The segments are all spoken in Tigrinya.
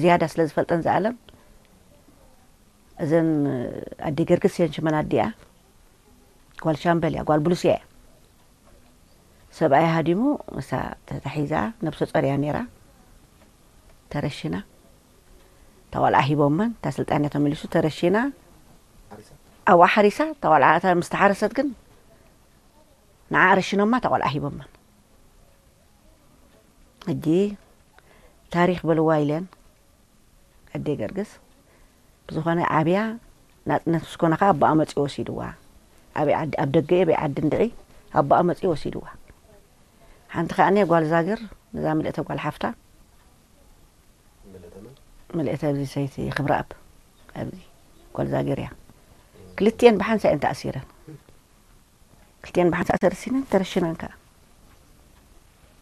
ዝያዳ ስለ ዝፈልጠን ዝኣለም፣ እዘን ኣዲ ገርግስ እየን ሽመን ኣዲኣ። ጓል ሻምበል እያ፣ ጓል ብሉስ እያ። ሰብኣይ ሃዲሙ፣ እሳ ተታሒዛ፣ ነብሰ ጾር እያ ነይራ። ተረሽና። እታ ቆልዓ ሂቦመን፣ እታ ስልጣን እያ ተመሊሱ፣ ተረሽና። ኣብኣ ሓሪሳ፣ እታ ቆልዓ እታ ምስ ተሓረሰት ግን ንዓ ረሽኖማ፣ እታ ቆልዓ ሂቦመን። ሕጂ ታሪኽ በልዋ ኢለን ኣደ ገርግስ። ብዝኾነ ዓብያ ናጽነት ምስ ኮነ ኸዓ ኣቦኣ መጺኡ ወሲድዋ። ኣበይ ዓዲ፣ ኣብ ደገ እየ፣ ኣበይ ዓዲ እንድዒ ኣቦኣ መጺኡ ወሲድዋ። ሓንቲ ኸዓ ጓል ዛግር፣ ነዛ ምልእተ ጓል ሓፍታ፣ ምልእተ ኣብዚ ሰይቲ ክብረኣብ፣ ኣብዚ ጓል ዛግር እያ። ክልቲኤን ብሓንሳእ እየን ተኣሲረን። ክልቲኤን ብሓንሳእ ተረሲነን፣ ተረሽነን ከኣ።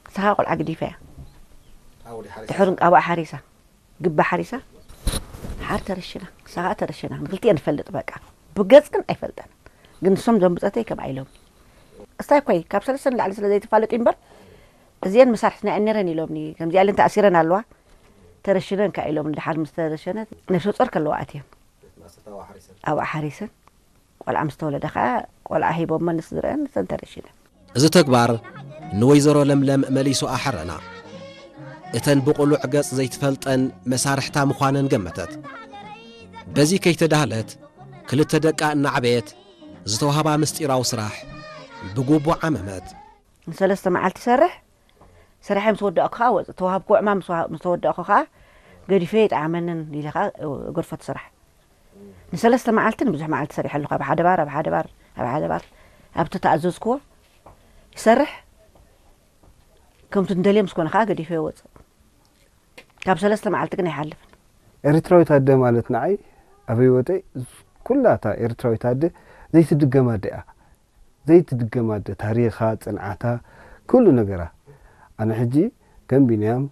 ንሳ ኸዓ ቆልዓ ገዲፋ እያ። ድሕሪ ኣብኣ ሓሪሳ፣ ግባ ሓሪሳ፣ ሓር ተረሽና፣ ንሳ ኸዓ ተረሽና። ንክልቲኤን ንፈልጥ በቃ። ብገጽ ግን ኣይፈልጠን። ግን ንሶም ዞም ብጸተይ ከምኣ ኢሎም። እስታይ ኮይ፣ ካብ ሰለስተ ንላዕሊ ስለ ዘይተፋለጡ እምበር፣ እዚኤን መሳርሕትና እየን ነይረን ኢሎምኒ። ከምዚኣ ኢለን ተኣሲረን ኣለዋ። ተረሽነን ከኣ ኢሎም፣ ድሓር ምስ ተረሸነት ነብሰ ጾር ከለዋ ኣትየን። ኣብኣ ሓሪሰን። ቆልዓ ምስ ተወለደ ኸኣ ቆልዓ ሂቦመን ንስድረአን፣ ንሰን ተረሺነን። እዚ ተግባር ንወይዘሮ ለምለም መሊሱ ኣሐረና። እተን ብቕሉዕ ገጽ ዘይትፈልጠን መሳርሕታ ምዃነን ገመተት። በዚ ከይተዳህለት፣ ክልተ ደቃ እናዕበየት፣ ዝተዋህባ ምስጢራዊ ስራሕ ብግቡእ ዓመመት። ንሰለስተ መዓልቲ ይሰርሕ፣ ስራሐይ ምስ ወዳእኩ ኸዓ ወጽእ። ተዋህብኩ ዕማም ምስ ዋ-፣ ምስ ተወዳእኩ ኸዓ ገዲፈ ይጥዓመንን ኢለ ኸዓ እገድፎ እቲ ስራሕ። ንሰለስተ መዓልቲ ንብዙሕ መዓልቲ ሰሪሐ ኣለኹ። ኣብ ሓደ ባር፣ ኣብ ሓደ ባር፣ ኣብ ሓደ ባር፣ ኣብቲ ተኣዘዝክዎ ይሰርሕ። ከምቲ እንደልዮ ምስ ኮነ ኸዓ ገዲፈ ይወጽእ። ካብ ሰለስተ መዓልቲ ግን ኣይሓልፍን። ኤርትራዊት ኣደ ማለት ንዓይ ኣብ ህይወተይ ኩላ እታ ኤርትራዊት ኣደ ዘይትድገም ኣደ እያ። ዘይትድገም ኣደ፣ ታሪኻ፣ ጽንዓታ፣ ኩሉ ነገራ። ኣነ ሕጂ ከም ቢንያም፣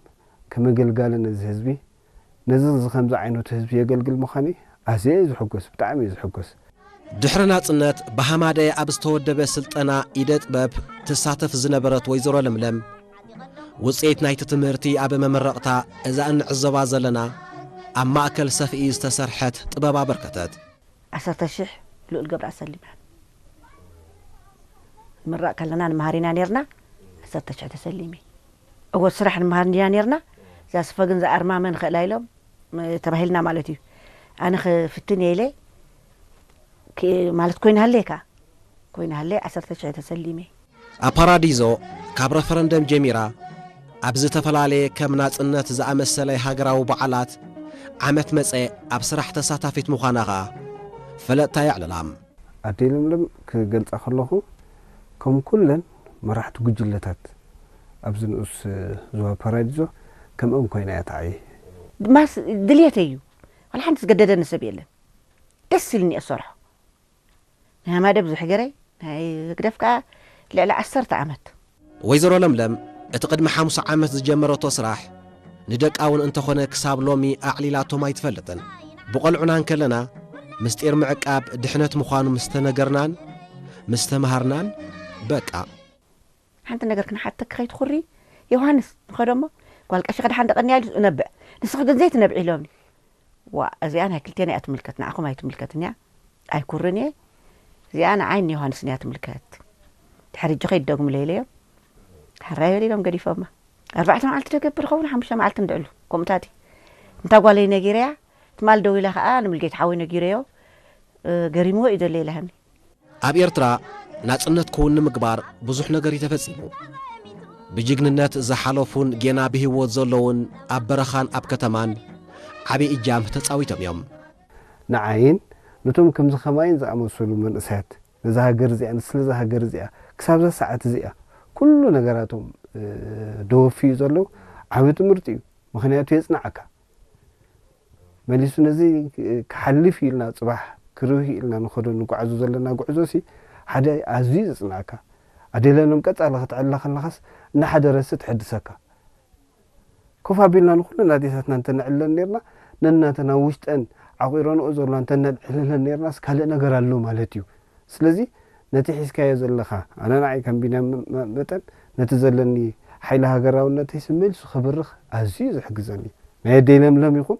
ከም ኣገልጋሊ ነዚ ህዝቢ፣ ነዚ፣ እዚ ከምዚ ዓይነቱ ህዝቢ የገልግል ምዃነይ ኣዝየ እየ ዝሕጎስ፣ ብጣዕሚ እየ ዝሕጎስ። ድሕሪ ናጽነት ብሃማደየ ኣብ ዝተወደበ ስልጠና ኢደ ጥበብ ትሳተፍ ዝነበረት ወይዘሮ ለምለም፣ ውጽኢት ናይቲ ትምህርቲ ኣብ መመረቕታ እዛ እንዕዘባ ዘለና ኣብ ማእከል ሰፍኢ ዝተሰርሐት ጥበብ ኣበርከተት። ዓሰርተ ሽሕ ልኡል ገብረኣብ ሰሊማ። ንምረቕ ከለና ንምሃር ኢና ኔርና፣ ዓሰርተ ሽሕ ተሰሊመ። እወ፣ ስራሕ ንምሃር ኢና ኔርና፣ እዛ ስፈ ግን ዝኣርማ መን ኽእላ ኢሎም፣ ም-፣ ተባሂልና ማለት እዩ። ኣነ ክፍትን እየ ኢለ፣ ክ-፣ ማለት ኮይና ሃለየካ፣ ኮይና ሃለየ፣ ዓሰርተ ሽሕ ተሰሊመ። ኣፓራዲዞ ካብ ረፈረንደም ጀሚራ፣ ኣብ ዝተፈላለየ ከም ናጽነት ዝኣመሰለ ሃገራዊ በዓላት፣ ዓመት መጸ ኣብ ስራሕ ተሳታፊት ምዃና ኸኣ ፈለጥታ የዕልላ። ኣደይ ለምለም ክገልጻ ከለኹ፣ ከም ኩለን መራሕቲ ጉጅለታት ኣብዚ ንኡስ ዞባ ፓራዲዞ ከምኦም ኮይና እያ ትዓዪ። ድማስ ድልየተይ እዩ። ዋላ ሓንቲ ዝገደደኒ ሰብ የለን። ደስ ኢልኒ እየ ዝሰርሖ። ናይ ሃማደ ብዙሕ ገይረ፣ ናይ ህግደፍ ከኣ ልዕሊ ዓሰርተ ዓመት። ወይዘሮ ለምለም እቲ ቅድሚ ሓሙሳ ዓመት ዝጀመረቶ ስራሕ ንደቃ እውን እንተኾነ ክሳብ ሎሚ ኣዕሊላቶም ኣይትፈልጥን። ብቆልዑና እንከለና ምስጢር ምዕቃብ ድሕነት ምዃኑ ምስ ተነገርናን ምስ ተምሃርናን በቃ። ሓንቲ ነገር ክንሓተኪ ከይትኹሪ፣ ዮሃንስ ንኸዶ እሞ ጓል ቀሺ ክድሓን ደቐንያ ኢሉ እነብዕ። ንስኺ ግን ዘይትነብዒ ኢሎምኒ። ዋእ፣ እዚኣ ናይ ክልቴና እያ ትምልከት፣ ንዓኹም ኣይትምልከትን እያ። ኣይኩርን እየ። እዚኣ ንዓይ ንዮሃንስን እያ ትምልከት። ድሕሪ ሕጂ ከይትደግምለይ ኢለዮም። ሕራይ በሉ ኢሎም ገዲፎማ። ኣርባዕተ መዓልቲ ዶ ገብር ኸውን፣ ሓሙሽተ መዓልቲ እንድዕሉ፣ ከምኡታት እዩ። እንታ ጓለይ ነጊረያ፣ ትማል ደዊላ ኸኣ ንሙልጌታ ሓወይ ነጊረዮ፣ እ፣ ገሪምዎ እዩ ዘሎ ኢላሃኒ። ኣብ ኤርትራ ናጽነት ክውን ንምግባር ብዙሕ ነገር እዩ ተፈጺሙ። ብጅግንነት ዝሓለፉን ጌና ብህይወት ዘለዉን ኣብ በረኻን ኣብ ከተማን ዓቢ እጃም ተጻዊቶም እዮም። ንዓይን ነቶም ከምዚ ከማይን ዝኣመሰሉ መንእሰያት፣ ነዛ ሃገር እዚኣ፣ ንስለ እዛ ሃገር እዚኣ፣ ክሳብ እዛ ሰዓት እዚኣ፣ ኩሉ ነገራቶም፣ እ፣ ደወፍዩ ዘለዉ ዓቢ ትምህርቲ እዩ። ምኽንያቱ የጽንዓካ። መሊሱ ነዚ ክሓልፍ ኢልና፣ ጽባሕ ክርህ ኢልና ንኸዶ ንጓዓዞ ዘለና ጉዕዞ ሲ ሓደ ኣዝዩ ዘጽንዓካ። ኣደለሎም ቀጻሊ ክትዕላ ከለኻስ፣ እናሓደረሲ ትሕድሰካ። ኮፍ ኣቢልና ንኹለን ኣዴታትና እንተነዕልለን ኔርና፣ ነናተን ኣብ ውሽጠን ዓቑረንኦ ዘለዋ እንተነዕልለን ኔርናስ፣ ካልእ ነገር ኣሎ ማለት እዩ። ስለዚ፣ ነቲ ሒዝካዮ ዘለኻ፣ ኣነ ንዓይ ከም ቢንያም መ-፣ መጠን፣ ነቲ ዘለኒ ሓይሊ ሃገራውነተይስ መሊሱ ክብርኽ ኣዝዩ እዩ ዝሕግዘኒ። ናይ ኣደይ ለምለም ይኹን